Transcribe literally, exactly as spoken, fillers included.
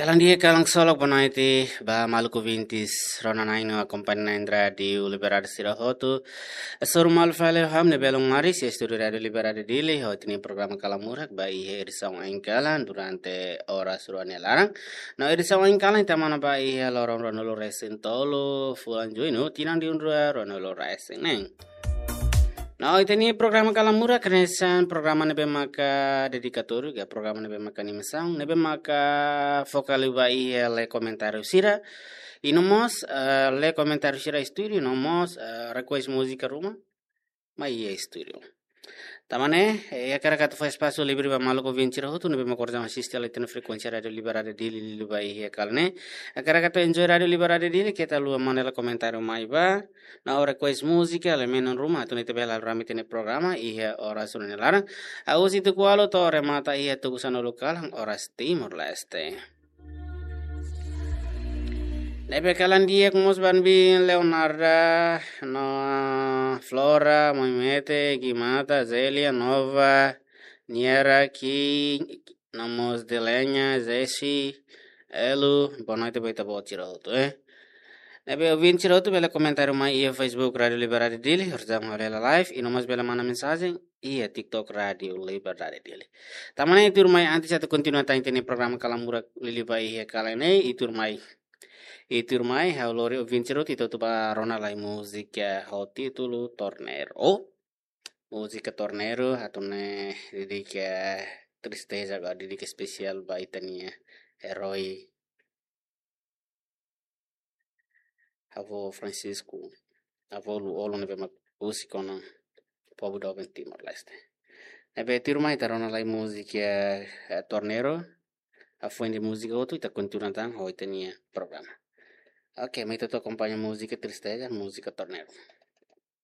Kalan di'ak, kalan ksolok, boa noite ba maluk ouvintes rona-na'in no akompaña na'in Rádiu Liberdade sira hotu. Hasoru malu fali ho ami ne'ebé malu mai iha estúdiu Rádiu Liberdade Dili, hodi ita-nia programa Kalan Murak ba iha edisaun oin kalan durante oras rua nia laran. No edisaun oin kalan ita manán ba iha loron ruanulu-resin-tolu fulan Juñu, tinan rihun rua ruanulu-resin-neen. No ita-nia programa Kalan Murak hanesan programa ne'ebé maka dedikatóriu, ka programa ne'ebé maka animasaun, ne'ebé maka foka liu ba iha lee komentáriu sira. I no mós, eh, lee komentáriu sira estúdiu, no mós, eh, request múzika ruma mai iha estúdiu. Tanba ne'e, eh, hakarak atu fó espasu livre ba maluk ouvinte sira hotu ne'ebé maka orsida asiste hela ita-nia frekuénsia Rádiu Liberdade Dili liuliu ba iha kalan ne'e. Hakarak atu enjoy Rádiu Liberdade Dili, keta haluha manda hela komentáriu mai ba, no request múzika, elementu ruma, atu nune'e ita bele halo rame ita-nia programa iha oras rua nia laran. Husi tuku ualu to'o remata iha tuku sanulu kalan oras Timor-Leste. Ne'ebé kalan di'ak mós ba ami Leonarda, no Flora, Moimete, Gimata, Zélia, Nova, Niera, Ki, no mós Delenya, Zesi, Elu, boa noite ba ita-boot sira hotu, eh. Ne'ebé ouvinte sira hotu bele komentáriu mai iha Facebook Rádiu Liberdade Dili, orsida ami halo hela live, i no mós bele manda mensajen iha TikTok Rádiu Liberdade Dili. Tanba ne'e ita tuirmai, antes atu kontinua tan ita-nia programa Kalan Murak liuliu ba iha kalan ne'e, ita tuirmai. Ita tuirmai, ha'u lori ouvinte sira hotu, ita hotu ba rona lai múzika ho títulu Torneiro. Múzika Torneiro, atu nune'e dedika tristeza, ka dedika espesiál ba ita-nia erói, avó Francisco, avó Lú-Olo ne'ebé mak husik ona povu doben Timor-Leste. Ne'ebé tuirmai ita rona lai múzika, eh, Torneiro, hafoin de'it múzika hotu ita kontinua tan ho ita-nia programa. Oke, mai ita hotu akompaña múzika tristeza, múzika Torneiro.